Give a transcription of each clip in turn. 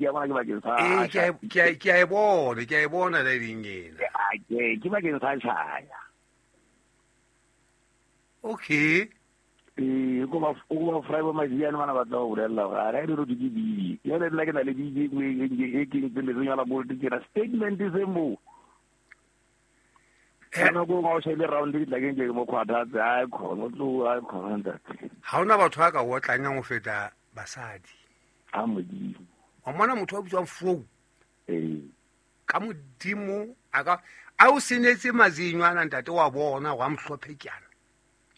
Ya bona ke bakeng sa Ee, ke a e bona, ke a e bona line ena. Ke bakeng sa tjhaya. Okay. Ee, ko ba o ba fry ba majiane bana ba tla go bolella gore a re re ke bibi. Jale nna ke na le bibi e e ke ntse le tsenya la gold ke na statement se mo. Kana go ga o shebe round ke tla ke ke mo khwathatse a khona tlo a khona ntate. Ha hona batho ba ka otlanyang ho feta basadi. A modimo. Wa mona motho wa bitswang Fou. Ee. Ka modimo a ka a o senetse mazinyo ana ntate wa bona wa mhlophe kyana.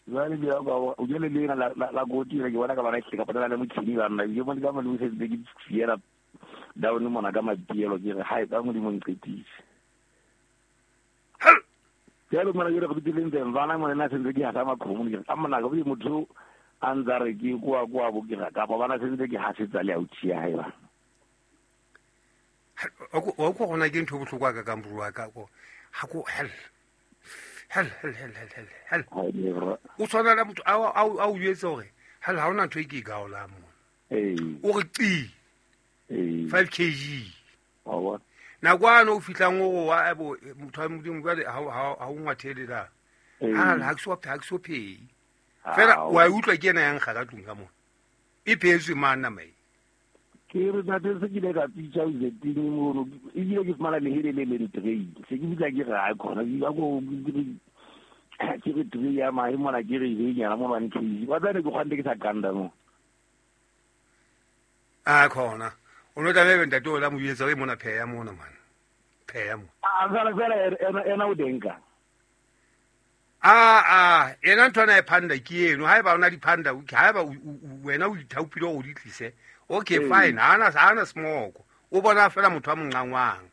Jwale ke ya ka o jele le la la goti ke bona ka bana ke ka patala le motshini ba nna ke bona ka mo se ke fiela down mona ka matielo ke re hai ka modimo nqetise. Jalo mona ke re go ditileng teng bana mona na sentse ke hasa makhomo ke ka mona ka motho a ntsa re ke kwa kwa bo ke kapa bana sentse ke hasetsa le authi ya hae ba. O ko gona ke ntho bohlokwa ka ka mbrua ka ko ha ko hell hell hell hell hell hell hell. O tshwana le motho a o jwetse hore hell ha hona ntho e ke e gaolang mona. Ee. O re qi. Ee. 5 kg. Wa bona. Nakwana o fihlang o wa bo motho wa modimo jwale ha o ngwathele la. Ha ke so phehi. Fela wa utlwa ke ena yang ga ka tlung ka mona. E phehetswe mang nama e? Ke re ntate se ke ile ka pitsa o zeteng mono ebile ke fumana lehele le leng tray. Se ke bitsa ke re ha khona ke go ke re tray ya mahe mona ke re e nyana mo 1 kg. Wa tsane ke kgwante ke sa kanda mo. A khona. O no tla be ntate o la mo etsa o mona pheya mona man. Pheya mo. A fela fela ena o denka. A ena ntho ana e phanda ke eno. Haeba ona di phanda, haeba wena o ithaopile hore o di tlise. Okay, fine. Hana smoko. O bona fela motho a monqangwang.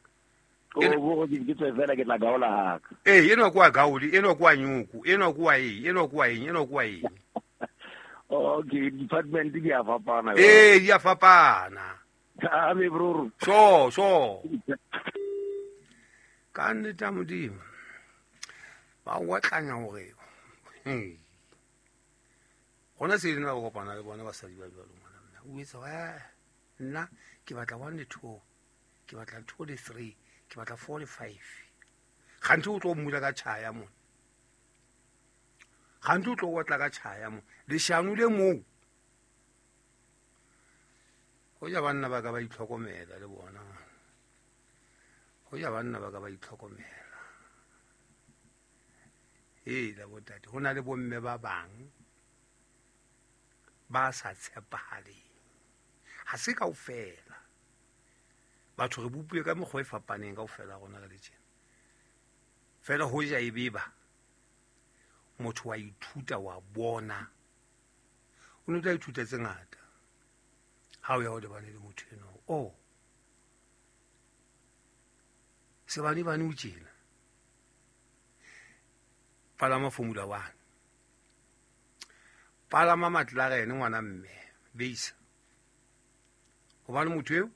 O bo ke tswe fela ke tla gaola haka. Ee, eno kwa gaoli, eno kwa nyuku, eno kwa eng, eno kwa eng, eno kwa eng. Okay, department di a fapana. Ee, di a fapana. A me bro. So. Ka nnete ya modimo. Ba otlanya hore. Gona se lena go kopana le bona basadi ba jwalo ngwana nna. O etsa wa nna ke batla 1 le 2, ke batla 2 le 3, ke batla 4 le 5. Gantsi o tlo mmula ka tjhaya mona. Gantsi o tlo otla ka tjhaya mona. Leshano le moo. Ho ja banna ba ka ba itlhokomela le bona. Ho ja banna ba ka ba itlhokomela. Ee, la botate, ho na le bomme ba bang ba sa tshepahaleng. Ha se kaofela. Batho re bopilwe ka mekgwa e fapaneng kaofela rona re le tjena. Fela ho ja e beba, motho wa ithuta wa bona. O ne o tla ithuta tse ngata ha o ya o lebane le motho eno. Oh, sebane bane o tjena. Palama Formula 1. Palama McLaren ngwana mme, beisa. Hobane motho eo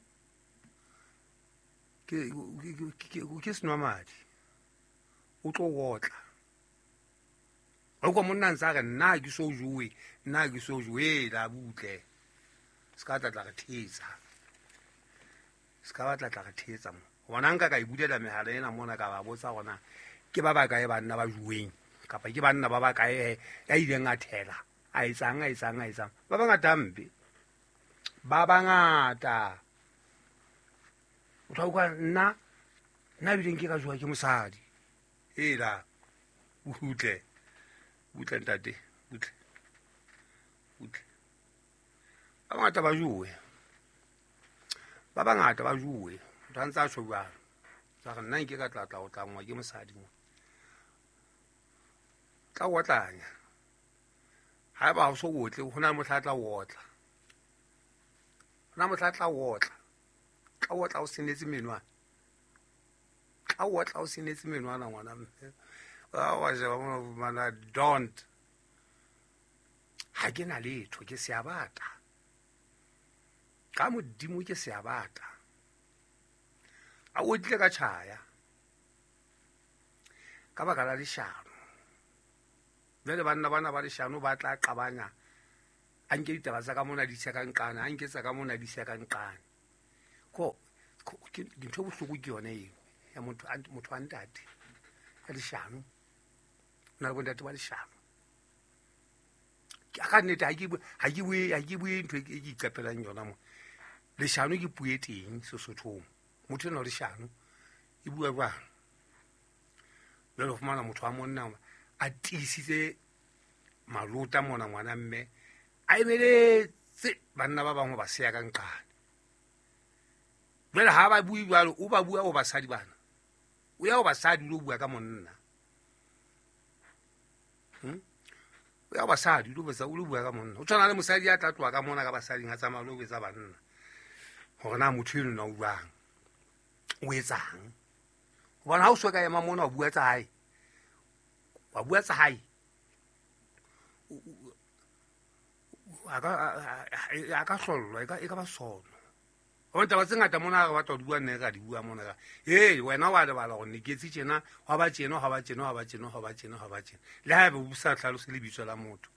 ke senwamadi. O tlo otla. O kwa monna ntse a re nna ke so jowe, nna ke so jowe, la butle. Se ka tla re thetsa. Se ka batla tla re thetsa mo. Hobane nka ka e bulela mehala ena mona ka ba botsa hore na ke ba bakae banna ba joweng kapa ke banna ba bakae ya ileng a thela, a etsang, a etsang, a etsang. Ba bangata hampe. Ba bangata. O tla utlwa nna ebile nke ka jowa ke mosadi. Ela butle. Butle ntate, butle. Butle. Ba bangata ba jowe. Ba bangata ba jowe. Motho a ntse a tjho jwalo. Tsa re nna nke ka tla tla o tlangwa ke mosadi mo. Tla o otlanya. Haeba ha o so otle, ho na le mohla a tla o otla. Ho na mohla a tla o otla. Tla o otla o senetse menwana. Tla o otla o senetse menwana ngwana mme. Wa sheba mona o fumana don't. Ha ke na letho, ke seabata. Ka modimo ke seabata. A o tlile ka tjhaya. Ka baka la leshano. Jwale banna bana ba leshano ba tla qabanya. A nke ditaba tsa ka mona di se ka nqane, a nke tsa ka mona di se ka nqane. Ko Ke dintho bohloko ke yona eo ya motho a ntate ya leshano. O na le bontate ba leshano. Ka nnete ha ke bue ntho e ke iqapelang yona mo. Leshano ke puo e teng Sesothong. Motho enwa leshano e bua jwang? Jwale o fumana motho wa monna a tiisitse malota mona ngwana mme a emeletse banna ba bangwe ba seya ka nqane. Jwale ha ba bue jwalo, o ba bua ho basadi bana. O ya ho basadi o lo bua ka monna. O ya ho basadi o lo bua ka monna. O tshwana le mosadi ya tla tloha ka mona ka basading a tsamaya lo betsa banna. Hore na motho eno na o buang, o etsang. Hobane ha o so ka ema mona o bua tsa hae. Wa bua tsa hae. A ka hlollwa, e ka ba sono. Hobane taba tse ngata mona re batla ho di bua, nne ra di bua mona ka. Hey, wena wa lebala hore ne ke etse tjena, hwa ba tjena, hwa ba tjena, hwa ba tjena, hwa ba tjena, hwa ba tjena. Le haeba o sa hlalose lebitso la motho.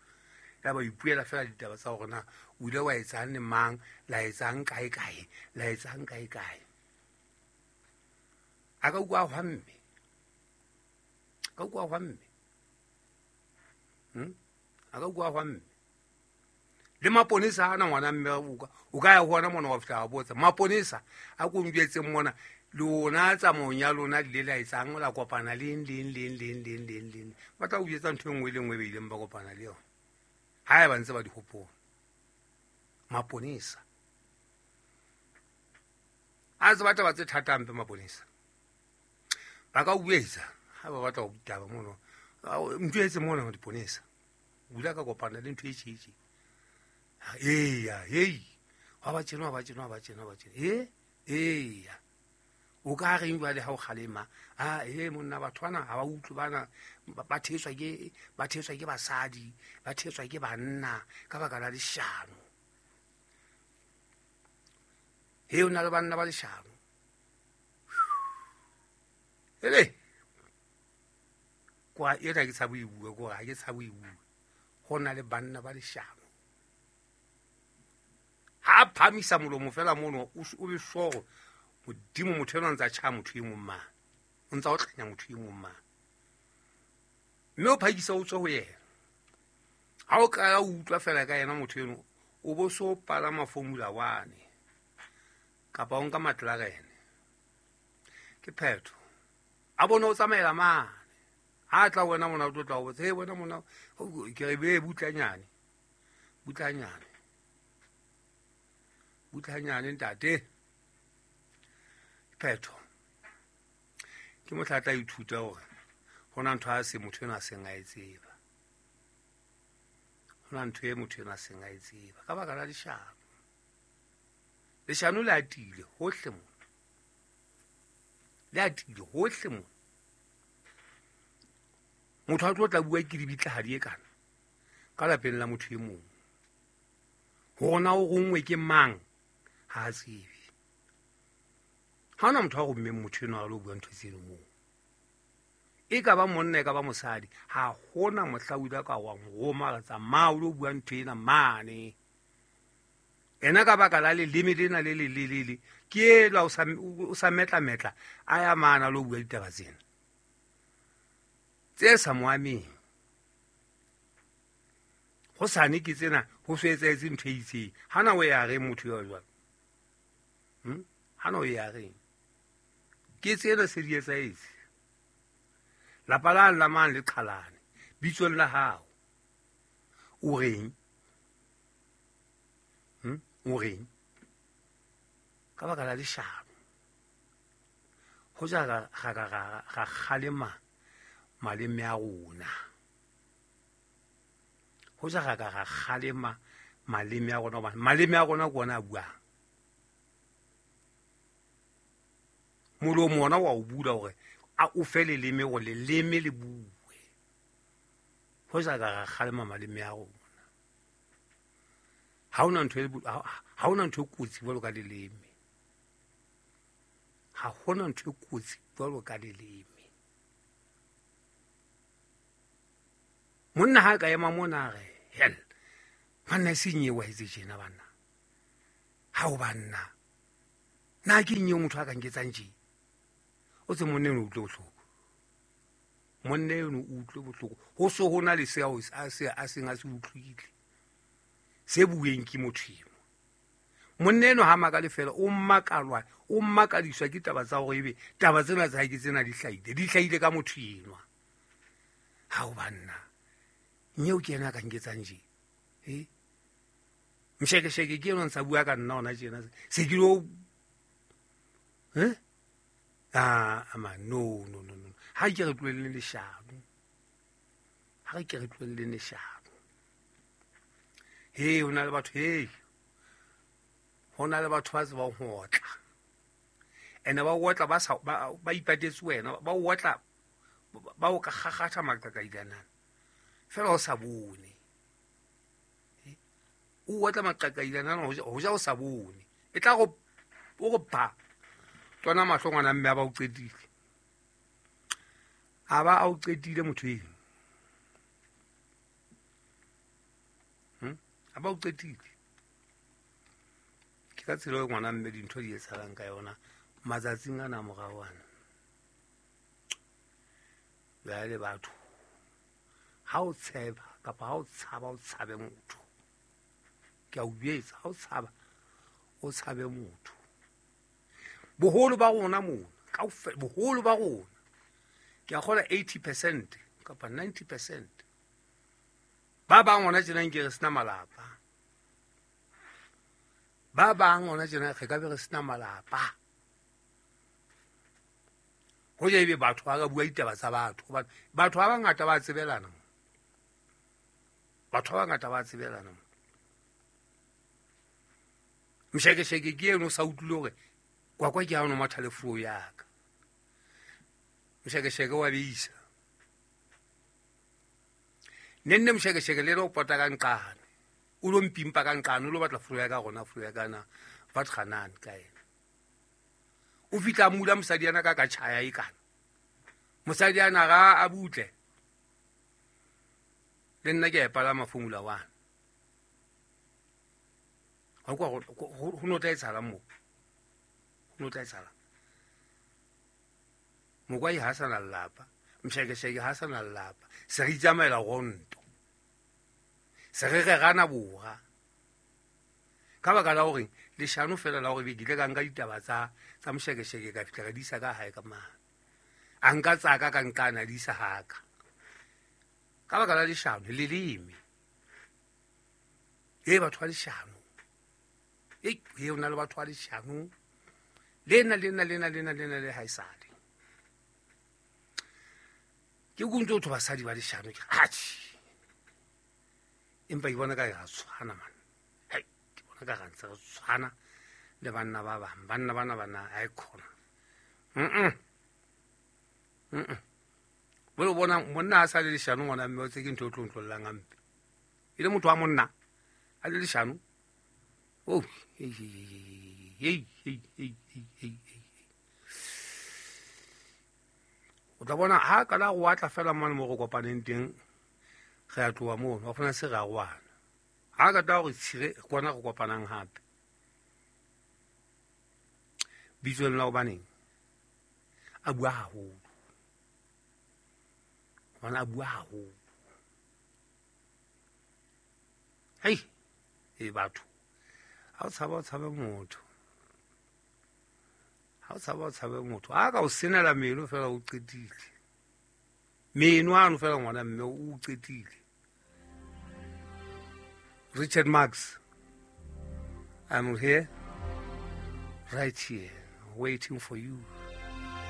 Ya ba ipuela fela ditaba tsa hore na o ile wa etsang le mang, la etsang kae kae, la etsang kae kae. A ka utlwa hwa mme. Ka utlwa hwa mme. A ka utlwa hwa mme. Le maponesa ana ngwana mme o ka ya ho ona mona wa fihla wa botsa. Maponesa a ko njwetseng mona lona tsamaong ya lona le la etsang la kopana leng leng leng leng leng leng leng. Ba tla o jwetsa ntho e nngwe le nngwe e ileng ba kopana le yona. Ha ba ntse ba di hopola. Maponesa a tseba taba tse thata hampe maponesa. Ba ka o etsa ha ba batla ho ditaba mono. Ntho etse mona ho diponesa. O ile ka kopana le ntho e tjhe. Eya, hey. Ha ba tjena, ba tjena, ba tjena, ba tjena. Eya. O ka reng jwale ha o kgalema? Ah, monna batho bana ha ba utlwe bana ba thetswa ke basadi, ba thetswa ke banna ka baka la leshano. He o na le banna ba leshano. Ele. Kwa ena ke tshabo e bua, ko ha ke tshabo e bua. Ho na le banna ba leshano. Ha phamisa molomo fela mono o be sure modimo motho ena ntsa tjha motho e mong mang. O ntsa o tlanya motho e mong mang. Mme o phakisa o tswe ho yena. Ha o ka utlwa fela ka yena motho eno o bo so palama Formula 1 kapa o nka McLaren. Ke phetho. A bona o tsamaela mane. Ha tla wena mona o tlo tla o botsa, "Hey wena mona ke re be butlanyane." Butlanyane. Butlanyane ntate. Phetho. Ke mohla tla ithuta hore hona ntho a se motho ena a seng a e tseba. Hona ntho e motho ena a seng a e tseba ka baka la leshano. Leshano le atile hohle mona. Le atile hohle mona. Motho a tlo tla bua ke dibitlahadi e kana ka lapeng la motho e mong. Hore na o rongwe ke mang ha a tsebe. Ha ona motho a rommeng motho enwa a lo bua ntho tseno moo. E ka ba monna e ka ba mosadi, ha hona mohla o ile ka wa roma re tsamaya o lo bua ntho ena mane. Ena ka baka la leleme lena le le le le ke ela o sa metla metla a ya mana lo bua ditaba tsena. Tse sa mo ameng. Ho sane ke tsena ho so etsahetse ntho e itseng. Hana o ya reng motho ya jwalo? Hana o ya reng? Ke tsena se di etsahetse. Lapa la la mang le qhalane. Bitsong la hao. O reng? O reng? Ka baka la leshano. Ho ja ga ga kgalema maleme a rona. Ho ja ga ga kgalema maleme a rona, hobane maleme a rona ke ona a buang. Molomo ona wa o bula hore a o fe leleme hore leleme le bue. Ho ja ga kgalema maleme a rona. Ha ona ntho e kotsi jwalo ka leleme. Ha hona ntho e kotsi jwalo ka leleme. Monna ha ka ema mona re, hell, banna e seng eo wa etse tjena banna. Ha o banna. Nna ke eng eo motho a ka nketsang tje? O tse monna eno o utlwe bohloko. Monna eno o utlwe bohloko. Ho so ho na le seo a se a seng a se utlwile. Se bueng ke motho eno. Monna eno ha makale fela, o makalwa, o makadiswa ke taba tsa hore ebe taba tsena tsa hae ke tsena di hlahile. Di hlahile ka motho enwa. Ha o banna. Nyeo ke yena a ka nketsang tje. Eh? Mshekesheke ke eno ntsa bua ka nna hona tjena. Se ke lo eh? Ah, ama no no no no. Ha ke re tlohelleng leshano. Ha ke re tlohelleng leshano. He, ho na le batho, he. Ho na le batho ba tsebang ho otla. Ene ba otla ba sa ba ipatetse wena, ba otla ba o ka kgakgatha maqakailanana. Fela o sa bone. O otla maqakailanana ho ja o sa bone. E tla go o go ba. Tsona mahlo ngwana mme a ba o qetile. A ba a o qetile motho eno. A ba o qetile. Ke ka tsela e ngwana mme dintho di etsahalang ka yona matsatsing ana morao ana. Jwale batho ha o tsheba kapa ha o tshaba o tshabe motho. Ke a o jwetsa, ha o tshaba o tshabe motho. Boholo ba rona mona, kaofela boholo ba rona ke a kgola 80% kapa 90%. Ba bang hona tjena nke re sena malapa. Ba bang hona tjena re ka be re sena malapa. Hoja ebe batho ba ka bua ditaba tsa batho. Batho ba bangata ba tsebelana. Batho ba bangata ba tsebelana. Mshekesheke ke eno o sa utlwile hore kwakwa ke ha o no matha le flo ya ka. Mshekesheke wa beisa. Nenne mshekesheke le lo pota ka nqane. O lo mpimpa ka nqane, o lo batla flo ya ka rona, flo ya ka na. Ba tganane ka ena. O fihla mula mosadi ana ka ka tjhaya e kana. Mosadi ana ga a butle. Le nna ke a e palama Formula 1. Ho kwa ho no tla etsahala moo. Ho no tla etsahala. Mokwai ha sa na lelapa, mshekesheke ha sa na lelapa. Se re itsamaela ronto. Se re rerana bora. Ka baka la hore leshano fela la hore be ke ile ka nka ditaba tsa mshekesheke ka fihla ka di isa ka hae ka mane. A nka tsaka ka nkana di isa haka. Ka baka la leshano leleme. E batho ba leshano. E o na le batho ba leshano. Lena lena lena lena lena le haesale. Ke kuntse ho basadi ba leshano ke atjhe. Empa ke bona ka re tshwana man. Hai, ke bona ka re ntse re tshwana le banna ba bang. Banna bana bana ha e khona. Bo bona monna a sa le leshano ngwana mme o tse ke ntho e tlo ntlollang hampe. E le motho wa monna a le leshano. Oh, hey hey hey hey hey hey. O tla bona ha ka la go atla fela mane mo go kopaneng teng re a tloha mono, wa fana se re a roana. Ha ka tla gore tshire kwana go kopanang hape. Bitsong la hobaneng a bua haholo. Hobane a bua haholo. Hei, e batho. Ha o tshaba o tshabe motho. Ha o tshaba o tshabe motho. Ha ka o senela meno fela o qetile. Meno ano fela ngwana mme o qetile. Richard Marx, I'm here, right here, waiting for you.